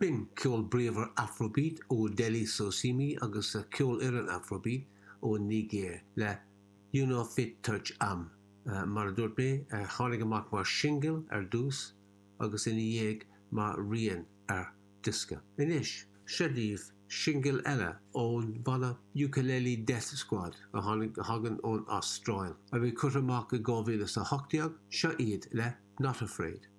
B'in ceol bríomhar Afrobeat ó Dele Sosimi agus a cheolfhoireann Afrobeat ón Nigéir le You No Fit Touch Am. Mar a dúirt mé, tháinig amach mar shingil ar dtús agus ina dhiaidh mar rian ar diosca. Anois, seo daoibh singil eile ón bhanna Ukulele Death Squad a tháinig a thagann ón Astráil, a bhí curtha amach i 2018, seo iad le Not Afraid.